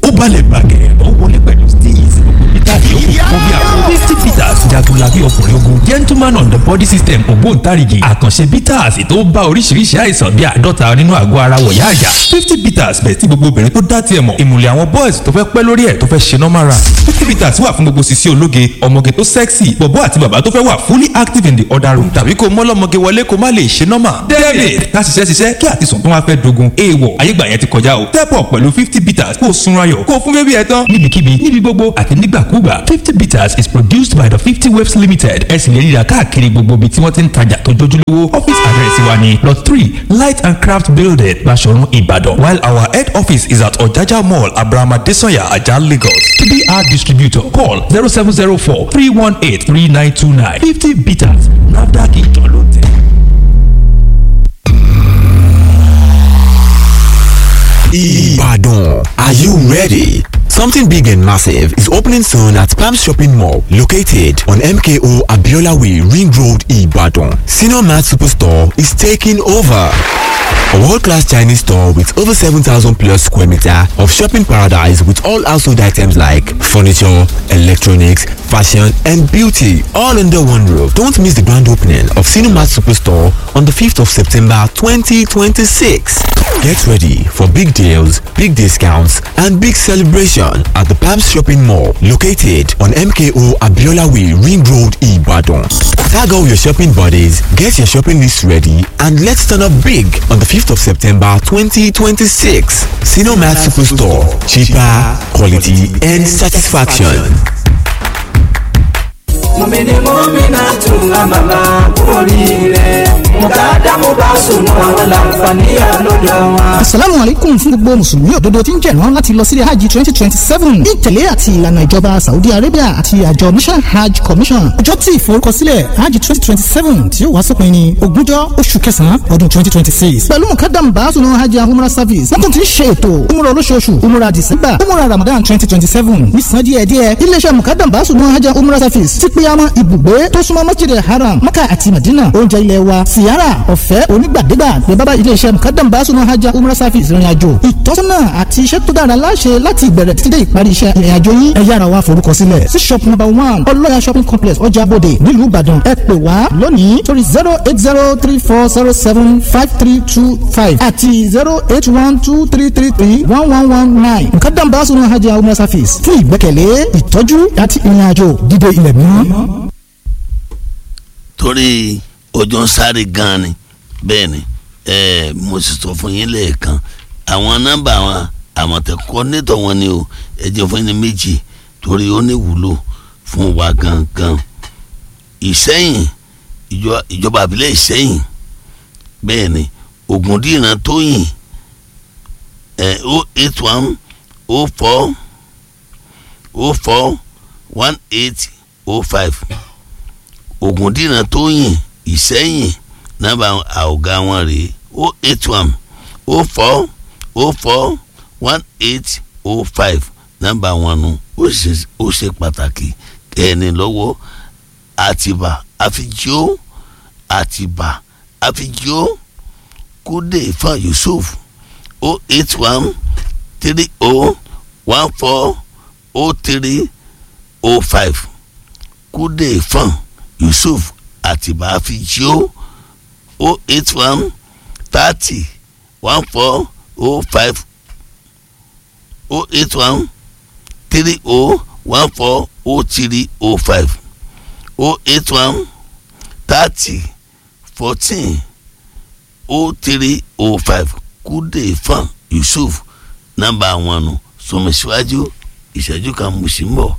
Ó balẹ̀ bàgẹ́, ó wọlé pẹ̀lú steez, gbogbo peter yòókù kó bí àwọn 50 bitters, jagunlabi ọkùnrin ogun, gentleman on the body system, ògbóǹtarìgì àkànṣe bitters tó bá oríṣiríṣi àìsàn bíi 50 nínú àgọ́ ara wọ̀yá àyà. 50 bitters bẹ̀ tí gbogbo obìnrin tó dá tiẹ̀ mọ̀, ìmùlẹ̀ àwọn boys tó fẹ́ pẹ́ lórí ẹ̀ tó fẹ́ ṣe normal run. 50 bitters wà fún gbogbo sisi ológe, ọmọge tó sexy, bọ̀bọ́ àti bàbá tó fẹ́ wà fully active in the other room, tàbí kó mọ́lọ́mọge wọlé kó má lè ṣe normal. David, ká ṣiṣẹ́ ṣiṣẹ́ kí àtisùn tó wá fẹ́ dogun, èèwọ̀ ayégbà yẹn ti kọjá o. Step up pẹ̀lú 50 bitters, kó o sunra yọ̀, kó o fún bébí ẹ tán. Níbikíbi, níbi gbogbo àti nígbàkúgbà, 50 bitters is produced by the 50 Waves Limited. Ẹ sì lè ríra káàkiri gbogbo ibi tí wọ́n ti ń tajà tó jójúlówó. Office address wa ni Lot 3, Light and Craft Building, Baṣọ̀run, Ìbàdàn, while our head office is at Ọ̀jájá Mall, Abraham Adesanya, Ajah, Lagos. TBR distributor, call 0704 318 3929. 50 bitters, NAFDAC ìjọ ló tẹ̀. Ibadan. Are you ready? Something big and massive is opening soon at Palm Shopping Mall, located on MKO Abiola Way, Ring Road, Ibadan. Senior Mart Superstore is taking over. A world-class Chinese store with over 7,000 plus square meter of shopping paradise with all household items like furniture, electronics, fashion and beauty, all under one roof. Don't miss the grand opening of Cinemat Superstore on the 5th of September 2026. Get ready for big deals, big discounts and big celebration at the Palms Shopping Mall, located on MKO Abiola Way, Ring Road, Ibadan. Tag all your shopping buddies, get your shopping list ready and let's turn up big on the 5th of September 2026. Cinemat Superstore. Cheaper, quality and satisfaction. Mọ̀mìnì mọ́mìnà tún àmàmà oríire mùtàdámù bá sùn àwọn làǹfààní àlọ́dọ̀ wọn. Asalaamu alaikum fún gbogbo mùsùlùmí òdodo tí ń jẹ̀rán láti lọ sílé hajj 2027 ní ìtẹ̀lé àti ìlànà ìjọba Saudi Arabia àti àjọ Mission Hajj Commission. Ọjọ́ tí ìforúkọsílẹ̀ hajj 2027 tí ó wá sópin ní ogúnjọ́ oṣù kẹsàn-án ọdún 2026. Pẹ̀lú mukadam baasunu hajj and umrah service, wọ́n tún ti ń ṣe ètò umrah olóṣooṣù, umrah December, umrah Ramadan 2027 nísàn díẹ̀díẹ̀. Iléeṣẹ́ mukadam baasunu hajj and umrah service ti pé àmọ́ ibùgbé tó súnmọ́ masjid haram, Maka àti Madina, oúnjẹ ilẹ̀ wa, siyara ọ̀fẹ́ onígbàdégbà ní bábá iléeṣẹ́ mukadam baasunu hajj and umrah service ìrìn àjò ìtọ́sọ́nà àti iṣẹ́ tó dára láṣẹ láti ìbẹ̀rẹ̀ títí dé ìparí iṣẹ́ ìrìn àjò yín. Ẹ yára wá forúkọ sílẹ̀ sí shop number 1 ọlọ́yà shopping complex, ọjà bòde, nílùú Ìbàdàn. Ẹ pè wá lónìí sórí 08034075325 àti 08123331119. Mukadam baasunu hajj and umrah service fún ìgbẹ́kẹ̀lé, ìtọ́jú àti ìrìn àjò dídé ilẹ̀ mímọ́. Torí ọjọ́ ń sáré gan-an ni. Bẹ́ẹ̀ ni, mo sì sọ fún yín lẹ́ẹ̀kan àwọn nọ́mbà àwọn àmọ̀tẹ́kọ́ nítọ̀ wọn ni o. Ẹ jẹ́ fún yín ní méjì torí ó ní wúlò fún wa gangan. Ìsẹ́yìn, ìjọba àbílẹ̀ Ìsẹ́yìn, bẹ́ẹ̀ ni, Ògúndìran Tóyìn, 081 04 04 18 05. Ògúndìran Tóyìn, Ìsẹ́yìn, nọ́mbà ọ̀gá wọn rèé, 081 04 04 18 05, nọ́mbà wọn nu. Ó ṣe pàtàkì ẹni lọ́wọ́. Àtìbà àfijó, Àtìbà àfijó, Kúdè Ifá Yusuf, 081 30 14 03 05. Kúdè Ifá Yusuf, Àtìbà àfijó, 081 30 14 05, 081 30 14 03 05, 081 30 14 03 05. Kúdè Ifá Yusuf, nọ́mbà wọn nù. Sọmọsíwájú ìṣẹ́jú kan, mo sì ń bọ̀.